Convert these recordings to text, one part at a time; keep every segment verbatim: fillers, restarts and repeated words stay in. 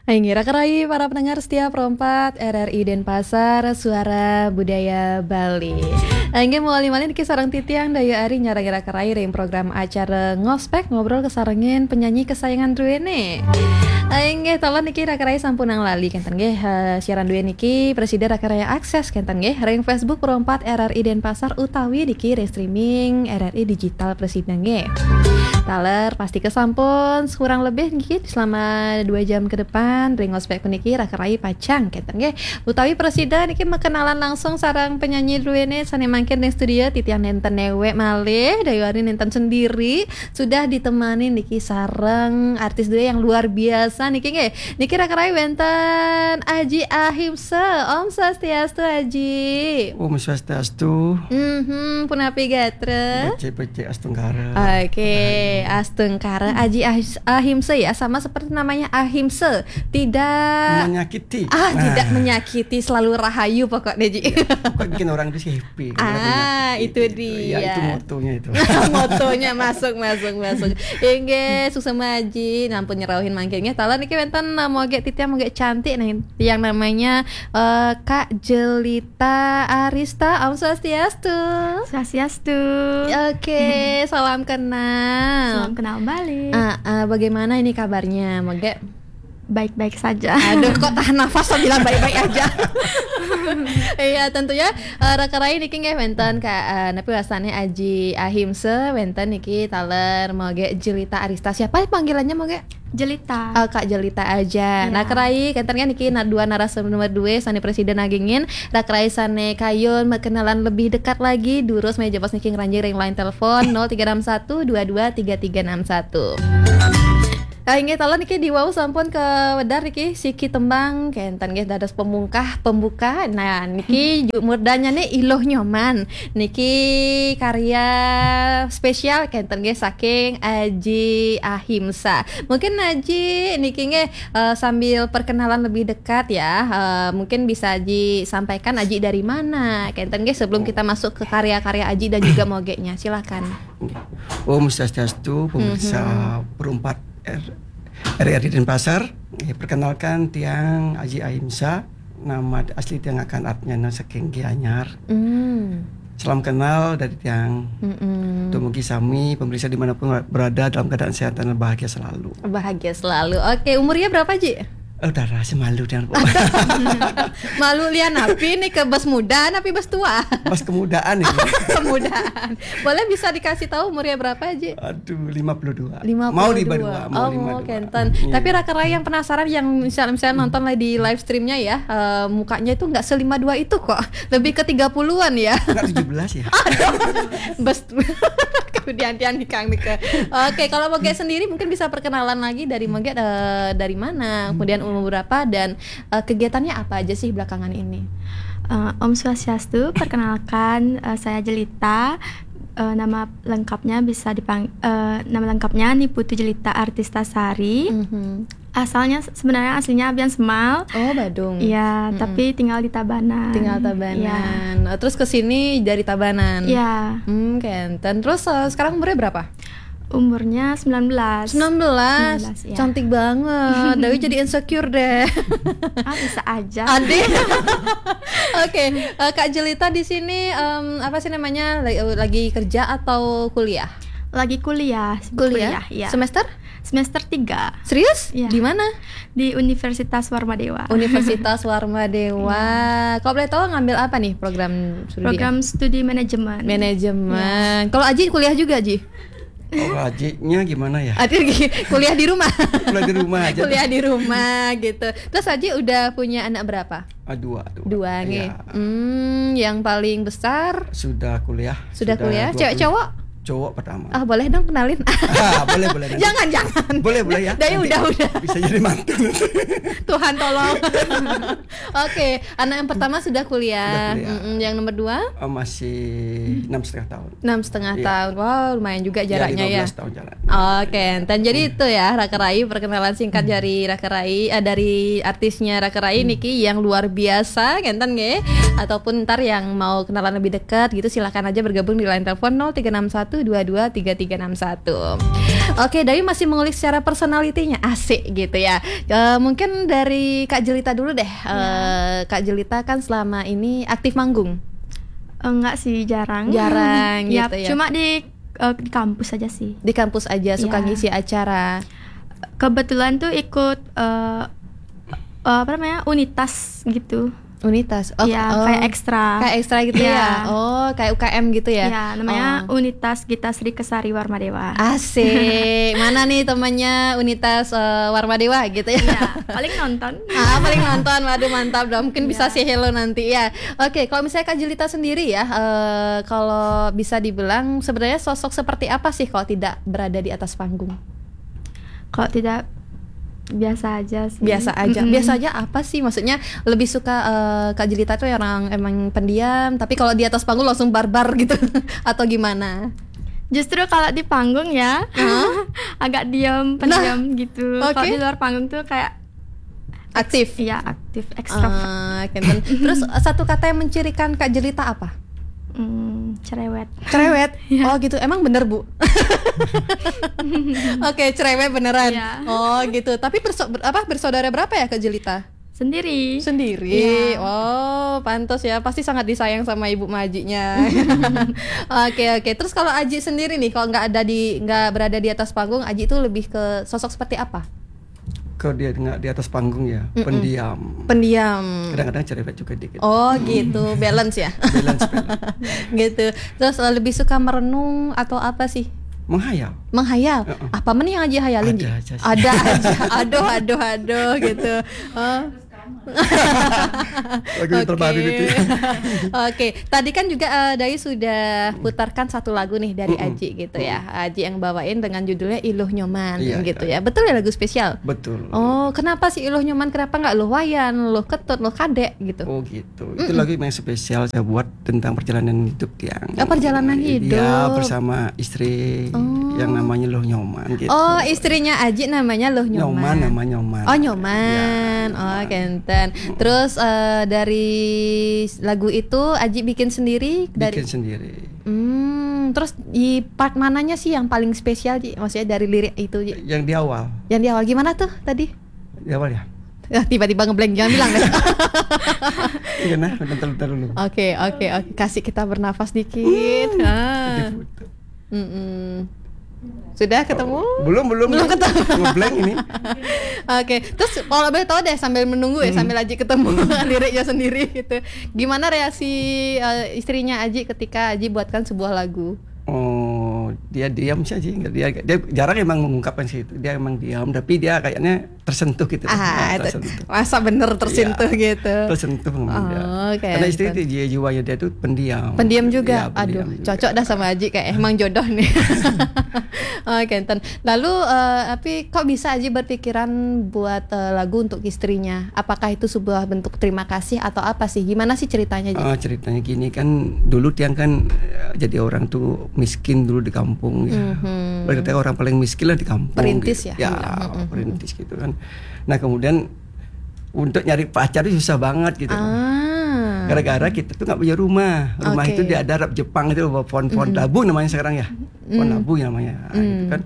Inggih, raka rayi para pendengar setia Pro empat R R I Denpasar, Suara Budaya Bali. Inggih, malih-malih niki sareng titiang Dayu Ari nyarengin raka rayi ring program acara Ngospek, ngobrol kasarengin penyanyi kesayangan druene. Inggih, taler niki raka rayi sampunang lali kenten nggih. Eh, siaran druene niki prasida raka rayi akses kenten nggih ring Facebook Pro empat R R I Denpasar utawi niki ring streaming R R I Digital prasida nggih. Taler pasti kesampun kurang lebih niki selama dua jam ke depan ring Ngospek puniki raka rayi pacang kenten nggih. Utawi prasida niki makenalan langsung sareng penyanyi druene sane mangkin ring studio, titiang nenten newek malih, Dayu Ari nenten sendiri, sudah ditemani niki sareng artis drue yang luar biasa niki nggih. Niki raka rayi wenten Aji Ahimsa. Om Swastiastu, Aji. Om Swastiastu. Mhm, punapi gatra? Becik-becik astungkara. Oke, astungkara. Aji Ahis- Ahimsa ya, sama seperti namanya Ahimsa. Tidak Menyakiti. Ah, tidak Nah. menyakiti, selalu rahayu pokoknya, Ji. Ya, pokoknya bikin orang itu happy. Nggak ada Ah, penyakit itu gitu. Ya, itu dia. motonya itu. Motonya masuk, masuk, masuk. Inggih, suksma Aji, nampun nyerauhin mangkin nggih. Taler niki wenten, eh, moge titiang, moge cantik nih, yang namanya, eh, Kak Jelita Arista. Om Swastiastu. Swastiastu. Oke, salam kenal. Salam kenal balik. Ah, ah, bagaimana ini kabarnya? Moge Baik-baik saja. Aduh, kok tahan nafas sambilan baik-baik aja. Iya, tentunya, eh, raka rayi niki nggih wenten Kak, eh, napi wastane, Aji Ahimsa, wenten niki taler moge Jelita Arista. Siapa panggilannya moge? Jelita. Oh, Kak Jelita aja. Iya. Nah, raka rayi kenten kan niki na-, dua narasumber due sane prasida nagingin, raka rayi sane kayun makenalan lebih dekat lagi, durus malih jebos niki ngranjing ring line telepon nol tiga enam satu dua dua tiga tiga enam satu. Ah, inggih taler niki diwau sampun kawedar niki siki tembang kenten nggih dados pemungkah, pembuka. Nah, niki ju-, murdannyane Iluh Nyoman. Niki karya spesial kenten nggih saking Aji Ahimsa. Mungkin Aji niki nggih, eh, sambil perkenalan lebih dekat ya. Eh, mungkin bisa Aji sampaikan Aji dari mana kenten nggih sebelum kita masuk ke karya-karya Aji dan juga mogenya. Silakan. Om Swastiastu, pemirsa Mhm. Pro empat R-, R R I Denpasar. Eh, perkenalkan, tiang Aji Ahimsa. Nama asli tiang Akan Atnyana saking Gianyar. Hmm. Salam kenal dari tiang. Mm-mm. Dumugi sami pemirsa dimanapun berada dalam keadaan sehat dan bahagia selalu. Bahagia selalu. Oke, umurnya berapa, Ji? Oh, udah rasa malu dengan Malu lian napi nih, ke bos muda napi bos tua? Bos kemudaan ini. Kemudaan. Boleh bisa dikasih tahu umurnya berapa, Ji? Aduh, lima puluh dua. Lima puluh dua. Mau lima dua, mau Oh, lima dua. Kenten. Iya. Tapi raka rayi yang penasaran, yang misal-misal nonton lah di live streamnya ya, eh, mukanya itu nggak selima dua itu kok. Lebih ke tiga puluhan ya. Nggak tujuh belas ya? Bes-, kemudian tiang nikang nika. Oke, kalau Moge sendiri mungkin bisa perkenalan lagi dari Moge, eh, dari mana, kemudian umur berapa, dan, eh, kegiatannya apa aja sih belakangan ini? Eh, Om Swastiastu, perkenalkan, eh, saya Jelita. Eh, nama lengkapnya bisa dipang-, eh, nama lengkapnya Ni Putu Jelita Artista Sari. Mhm. Asalnya se-, sebenarnya aslinya Abian Semal. Oh, Badung. Iya, Mm-mm. tapi tinggal di Tabanan. Tinggal Tabanan. Iya. Terus ke sini dari Tabanan. Iya. Hmm, kenten. Terus, eh, sekarang umurnya berapa? Umurnya sembilan belas. Sembilan belas? Sembilan belas, iya. Cantik banget. Dayu jadi insecure deh. Ah, bisa aja. Ade. Oke, eh, Kak Jelita di sini, em, apa sih namanya, lagi, lagi kerja atau kuliah? Lagi kuliah, sibuk Kuliah? kuliah, iya. Semester? Semester tiga. Serius? Iya. Di mana? Di Universitas Warmadewa. Universitas Warmadewa. Iya. Kalau boleh tahu ngambil apa nih program studinya? Program studi manajemen. Manajemen. Iya. Kalau Aji kuliah juga, Ji? Oh, Ajinya gimana ya? Aji gi-, kuliah di rumah. Kuliah di rumah aja. Kuliah di rumah gitu. Terus Aji udah punya anak berapa? Ah, dua, dua. Dua, nggih. Iya. Hmm, yang paling besar? Sudah kuliah. Sudah Sudah kuliah? dua puluh. Cewek cowok? Cowok pertama. Ah, boleh dong kenalin? Ah, boleh, boleh, nanti. Jangan, jangan. Boleh, boleh ya. Dari Nanti udah, udah. bisa jadi mantu nanti. Tuhan tolong. Oke, anak yang pertama sudah kuliah. Sudah kuliah. Mm-mm, yang nomor dua? Oh, masih enam setengah tahun. Enam setengah Iya. tahun. Wow, lumayan juga Iya, jaraknya ya. lima belas tahun jarak. Oke, dan jadi Hmm. itu ya, Raka Rai, perkenalan singkat Hmm. dari Raka Rai, eh, dari artisnya Raka Rai Hmm. niki yang luar biasa, kenten nggih. Ataupun ntar yang mau kenalan lebih dekat gitu, silakan aja bergabung di line telepon nol tiga enam satu dua dua tiga tiga enam satu. Oke, Dayu masih mengulik secara personalitinya, asik gitu ya. Eh, mungkin dari Kak Jelita dulu deh. Eh, Kak Jelita kan selama ini aktif manggung? Enggak sih, jarang. Jarang Ya, gitu ya. Cuma di eh, di kampus aja sih. Di kampus aja suka Iya. Ngisi acara. Kebetulan tuh ikut eh, eh, apa namanya, unitas gitu. Unitas. Oh, Ya, oh. Kayak ekstra. Kayak ekstra gitu ya. Iya. Oh, kayak U K M gitu ya. Ya, namanya Oh. Unitas Gita Sri Kesari Warmadewa. Asik. Mana nih temannya Unitas eh, Warmadewa gitu ya? Ya, paling nonton. Ah, paling nonton. Waduh, mantap dong. Mungkin bisa say hello nanti ya. Oke, kalau misalnya Kak Jelita sendiri ya, eh, kalau bisa dibilang sebenarnya sosok seperti apa sih kalau tidak berada di atas panggung? Kalau tidak, biasa aja sih. Biasa aja. Mm-mm. Biasa aja apa sih? Maksudnya lebih suka eh, Kak Jelita tuh orang emang pendiam, tapi kalau di atas panggung langsung barbar gitu atau gimana? Justru kalau di panggung ya, agak diam, pendiam gitu. Oke. Kalau di luar panggung tuh kayak Aktif. Iya, aktif, ekstrovert. Ah, kenten. Terus satu kata yang mencirikan Kak Jelita apa? Hmm, cerewet. Cerewet. Oh gitu. Emang bener, Bu? Oke, cerewet beneran. Iya. Oh gitu. Tapi berso- ber- apa bersaudara berapa ya Kak Jelita? Sendiri. Sendiri. Iya. Oh, pantas ya. Pasti sangat disayang sama ibu majinya. Oke, oke. Terus kalau Aji sendiri nih, kalau nggak ada di nggak berada di atas panggung, Aji itu lebih ke sosok seperti apa? Kalau dia nggak di atas panggung ya, pendiam. Pendiam. Kadang-kadang cerewet juga dikit. Oh gitu, balance ya. Balance, balance. Gitu. Terus eh, lebih suka merenung atau apa sih? Menghayal. Menghayal. Heeh. Apa men yang Aji hayalin? Ada Ji? aja sih. Ada aja. Aduh, aduh, aduh gitu. Oh. Lagu yang terbaru Oke. gitu ya. Oke, tadi kan juga eh, Dayu sudah putarkan satu lagu nih dari Aji gitu ya. Aji yang bawain dengan judulnya Iluh Nyoman Iya, gitu iya. Ya. Betul ya, lagu spesial? Betul. Oh, kenapa sih Iluh Nyoman? Kenapa nggak Luh Wayan, Luh Ketut, Luh Kadek gitu? Oh gitu. Itu lagu yang spesial saya buat tentang perjalanan hidup dia. Oh, perjalanan hidup. Dia bersama istri yang namanya Luh Nyoman gitu. Oh, istrinya Aji namanya Luh Nyoman. Nyoman, nama Nyoman. Oh, Nyoman. Iya, Oh, Nyoman. kenten. Terus eh, dari lagu itu Aji bikin sendiri dari Bikin sendiri. Hmm, terus di part mananya sih yang paling spesial, Ji? Maksudnya dari lirik itu, Ji? Yang di awal. Yang di awal gimana tuh tadi? Di awal ya. Ah, tiba-tiba ngeblank, jangan bilang deh. Iya nah, bentar, bentar dulu. Oke, oke, oke. Kasih kita bernafas dikit. Ah. Gitu. Mm-mm. Sudah ketemu? Belum, belum. Belum ketemu. Ngeblank ini. Oke, terus kalau boleh tahu deh sambil menunggu ya, sambil Aji ketemu liriknya sendiri gitu. Gimana reaksi eh, istrinya Aji ketika Aji buatkan sebuah lagu? Oh, dia diam saja. Dia, dia jarang emang mengungkapkan sih itu. Dia emang diam, tapi dia kayaknya tersentuh gitu. Ah, Nah, itu tersentuh. Masa bener tersentuh Iya. Gitu. Tersentuh sama dia. Oh, oke, Karena istri enten. Itu dia jiwanya dia tuh pendiam. Pendiam juga. Iya, pendiam Aduh, juga. Cocok dah sama Aji, kayak emang jodoh nih. Oke, enten. Lalu eh, tapi kok bisa Aji berpikiran buat eh, lagu untuk istrinya? Apakah itu sebuah bentuk terima kasih atau apa sih? Gimana sih ceritanya, Ji? Oh, ceritanya gini kan, dulu Tiang kan eh, jadi orang tuh miskin dulu di kampung ya. Mhm. Boleh dikatakan orang paling miskin lah di kampung. Perintis Gitu. Ya? Ya, perintis gitu kan. Nah, kemudian untuk nyari pacar itu susah banget gitu. Ah. Gara-gara kita tuh nggak punya rumah. Rumah Oke. Itu di ada Arab Jepang itu pohon-pohon labu namanya sekarang ya. Pohon labu namanya. Nah, gitu kan.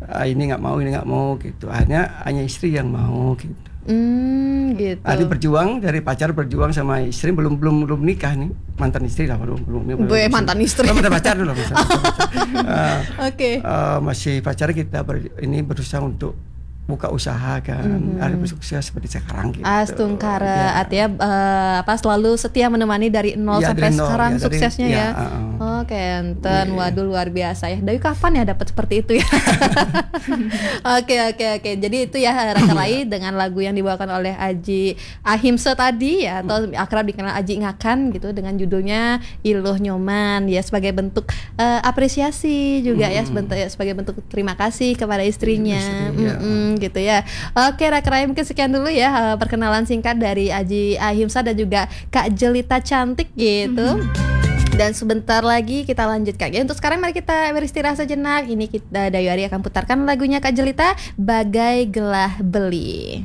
Ah, ini nggak mau, ini nggak mau gitu. Akhirnya hanya istri yang mau gitu. Hmm, gitu. Ada berjuang dari pacar, berjuang sama istri, belum belum belum nikah nih, mantan istri lah, belum belum belum Gue mantan istri. Belum ada pacar dulu, mantan pacar. Eh, Oke. eh, masih pacar kita ber- ini berusaha untuk buka usaha kan, ada sukses seperti sekarang gitu. Astungkara, Iya. Artinya eh, apa selalu setia menemani dari nol Iya, sampai dari nol, sekarang ya, dari- suksesnya ya. ya, heeh. Oh, kenten, waduh, luar biasa ya. Dari kapan ya dapat seperti itu ya? Oke, oke, oke. Jadi itu ya Raka Rai dengan lagu yang dibawakan oleh Aji Ahimsa tadi ya, atau akrab dikenal Aji Ngakan gitu, dengan judulnya Iluh Nyoman ya, sebagai bentuk eh, apresiasi juga ya, sebentar- sebagai bentuk terima kasih kepada istrinya. Istri, ya. Mm-mm, gitu ya. Oke, Raka Rai, mungkin sekian dulu ya eh, perkenalan singkat dari Aji Ahimsa dan juga Kak Jelita cantik gitu. Dan sebentar lagi kita lanjutkan ya. Untuk sekarang mari kita beristirahat sejenak. Ini kita Dayu Ari akan putarkan lagunya Kak Jelita, Bagai Gelah Beli.